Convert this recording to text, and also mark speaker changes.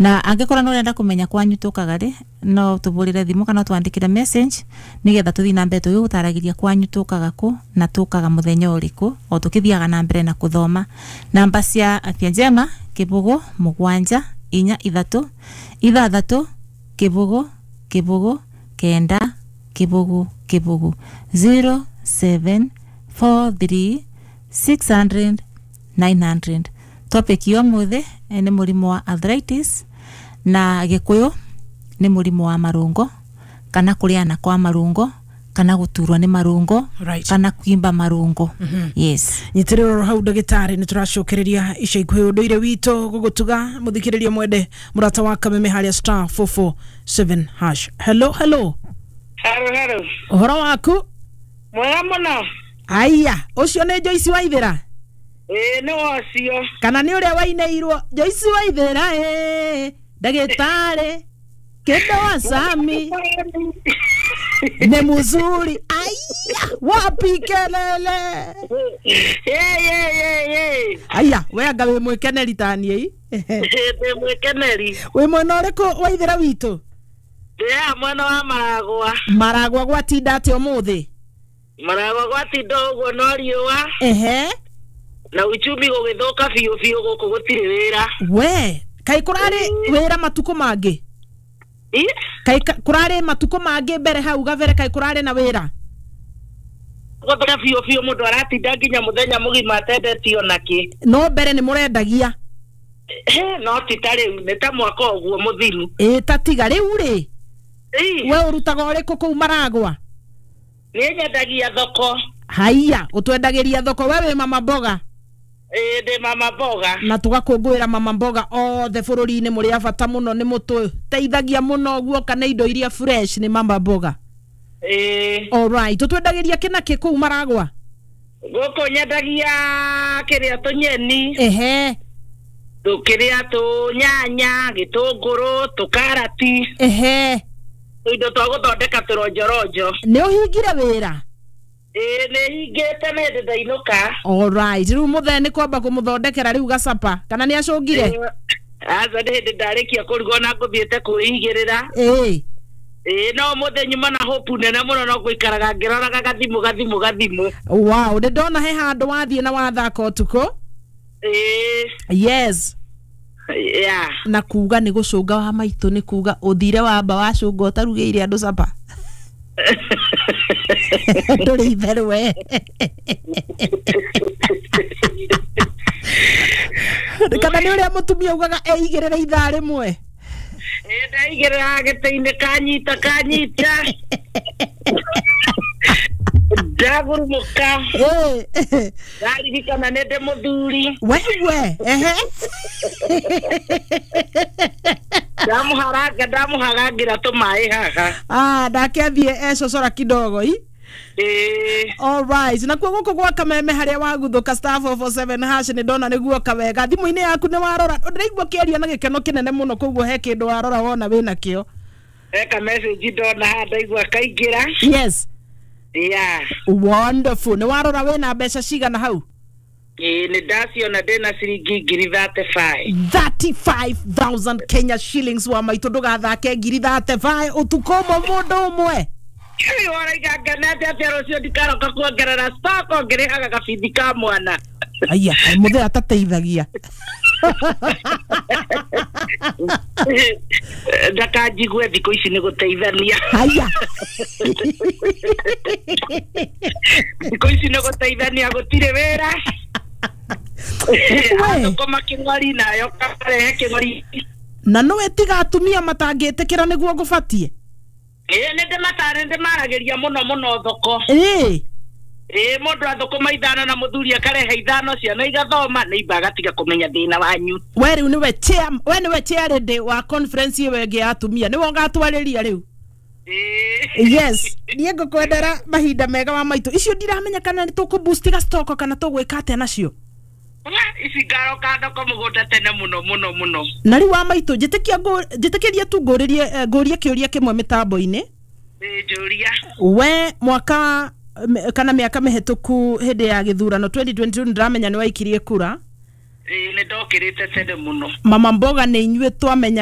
Speaker 1: Na angĩkorwo nĩ ũrenda kũmenya kwanyu tũkaga rĩ, no tũbũrĩre thimũ kana twandĩkĩre message nĩgetha tũthiĩ na mbere tũgĩgũtaragĩria kwanyu tũkaga kũ na tũkaga mũthenya ũrĩkũ, o tũkĩthiaga na mbere na kũthoma namba cia Afya Njema: 0 7 4 3 6 0 0 9 0 0, 0743 600 900. Topic ya ũmũthĩ nĩ mũrimũ wa arthritis, na Gĩkũyũ nĩ mũrimũ wa marũngo, kana kũrĩana kwa marũngo, kana gũturwo nĩ marũngo, kana kwimba marũngo. Yes.
Speaker 2: Nyitĩrĩra hau, ndagĩtarĩ, nĩ tũracokereria ica ikuhĩ. Ũndũire witũ gũgũtuga mũthikĩrĩria mwende mũrata wa Kameme harĩa *447#. Hello, hello.
Speaker 3: Haro, haro.
Speaker 2: Ũhoro waku?
Speaker 3: Mwega mũno.
Speaker 2: Aya, ũcio nĩ Joyce Waithĩra?
Speaker 3: Ĩĩ, nĩ wacio.
Speaker 2: Kana nĩ ũrĩa wainĩirwo Joyce Waithĩra? Ĩ ndagĩtarĩ kĩndũ wa Sami ni mzuri. Aya, wapi kelele?
Speaker 3: Ye, ye, ye, ye.
Speaker 2: Aya, we anga wĩ mwĩkeneri taniĩ?
Speaker 3: Ndĩ mwĩkeneri.
Speaker 2: Wĩ mwena ũrĩkũ, Waithĩra witũ?
Speaker 3: Ndĩ haha mwena wa Maragwa.
Speaker 2: Maragwa gwatinda atĩa ũmũthĩ?
Speaker 3: Maragwa gwatinda ũguo no riũa. Na uchumi gũgĩthũka biũ biũ, gũkũ gũtirĩ wĩra.
Speaker 2: We kaĩ kũrarĩ wĩra matukũ mangĩ?
Speaker 3: Ĩ?
Speaker 2: Kaĩ kũrarĩ matukũ mangĩ mbere hau gabere, kaĩ kũrarĩ na wĩra?
Speaker 3: Gũthũka biũ biũ, mũndũ aratinda nginya mũthenya mũgima atendetio nakĩ.
Speaker 2: No mbere nĩ mũrendagia?
Speaker 3: No ti ta rĩu, nĩ ta mwaka ũguo mũthiru.
Speaker 2: Ĩ, ta tiga rĩu rĩ.
Speaker 3: Ĩ.
Speaker 2: We ũrutaga ũrĩkũ kũu Maragwa?
Speaker 3: Niĩ nyendagia thoko.
Speaker 2: Haiya, ũtwendagĩria thoko, we wĩ mama mboga?
Speaker 3: Ĩ, ndĩ mama mboga.
Speaker 2: Na tũgakũngũĩra mama mboga othe bũrũri-inĩ, mũrĩ a bata mũno, nĩ mũtũteithagia mũno guoka na indo iria fresh nĩ mama mboga.
Speaker 3: Ĩ.
Speaker 2: Alright, ũtwendagĩria kĩ na kĩ kũu Maragwa?
Speaker 3: Gũkũ nyendagia kĩrĩa, tũnyeni, tũkĩrĩa tũnyanya, gĩtũngũrũ, tũkarati, tũindo twa gũthondeka tũronjoronjo.
Speaker 2: Nĩ ũhingire wĩra?
Speaker 3: Ĩĩ, nĩ hingĩte, nĩ hĩndĩ ndainũka.
Speaker 2: Alright, rĩu mũthee nĩ kwamba kũmũthondekera rĩu gacapa, kana nĩ acũngire?
Speaker 3: Aca, nĩ hĩndĩ ndarĩkia kũruga, ona ngũthiĩte kwĩigĩrĩra. Ĩĩ, no ũmũthĩ nyuma na hope nene mũno, no gũikaraga ngĩroraga gathimũ gathimũ gathimũ.
Speaker 2: Wow, nĩ ndona he handũ wathiĩ na wathaka ũtukũ.
Speaker 3: Ĩĩ.
Speaker 2: Yes.
Speaker 3: Yeah.
Speaker 2: Na kuga nĩ gũcũnga wa maitũ, nĩ kuga ũthire wamba wacũnga ũtarugĩire andũ capa, ndũrĩ itherũ we. Kana nĩ ũrĩa mũtumia ugaga eigĩrĩre ithaa rĩmwe?
Speaker 3: Ĩĩ, ndaigĩrĩra gĩtĩ-inĩ, kanyita kanyita, ndagurumũka, ndaririkana nĩ ndĩ mũthuri.
Speaker 2: Wewe, ehe.
Speaker 3: Ndamũharanga, ndamũharangĩra tũmaĩ haha.
Speaker 2: Ah, ndake athiĩ ecocora kidogo i.
Speaker 3: Ĩĩ.
Speaker 2: Alright, nakuo gũkũ gwa Kameme harĩa waguthũka *447# nĩ ndona nĩ guoka wega thimũ-inĩ yaku. Nĩ warora, ndĩraigua ũkĩaria na gĩkeno kĩnene mũno, koguo he kĩndũ warora wona wĩna kĩo.
Speaker 3: Eka message ndona haha, ndaigua kaingĩra. Yeah.
Speaker 2: Wonderful. Nĩ warora wĩna mbeca cigana hau?
Speaker 3: Ĩĩ, nĩ ndaciona, ndĩna ciringi ngiri 35.
Speaker 2: 35,000 Kenya shillings. Wa maitũ, ndũgathake, ngiri 35 ũtukũ ũmwe, mũndũ ũmwe.
Speaker 3: Ĩĩ, waraiga ngenete atĩa, rũciũ ndikaroka kuongerera stock ngĩrĩhaga gabithi ka mwana.
Speaker 2: Aya, mũthee atateithagia.
Speaker 3: Ndakanjigue, thikũ ici nĩ gũteithania.
Speaker 2: Haya.
Speaker 3: Thikũ ici nĩ gũteithania, gũtirĩ wĩra. Athũkũma kĩng'ori nayo karehe kĩng'ori.
Speaker 2: Na nĩwe tiga atumia matangĩtĩkĩra nĩguo ngũbatie.
Speaker 3: Ĩĩ, nĩ ndĩmatarĩ, ndĩmaragĩria mũno mũno thoko. Ĩĩ, mũndũ athũkũma 5 na mũthuri akarehe 5, ciana igathoma, nĩ imba agatiga kũmenya thĩna wanyu.
Speaker 2: We rĩu nĩwe chair, we nĩwe chair lady wa conference ĩyo ĩngĩ ya atumia, nĩwe ũgatwarĩria rĩu.
Speaker 3: Ĩĩ.
Speaker 2: Yes, niĩ ngũkwendera mahinda mega wa maitũ. Icio ndiramenya kana nĩ tũkũboostiga stock kana tũgwĩka atĩa nacio.
Speaker 3: Ici ngaroka thoko mũgũnda tene mũno mũno mũno.
Speaker 2: Na rĩu wa maitũ, njĩtĩkia njĩtĩkĩrie tu ngũrĩrie, ngũrie kĩũria kĩmwe mĩtambo-inĩ.
Speaker 3: Ĩĩ, njũria.
Speaker 2: We mwaka kana mĩaka mĩhĩtũku hĩndĩ ya gĩthurano 2022, nĩndĩramenya nĩ waikirie kura.
Speaker 3: Ĩĩ, nĩ ndokĩrĩte tene mũno.
Speaker 2: Mama mboga nĩ inyuĩ twamenya.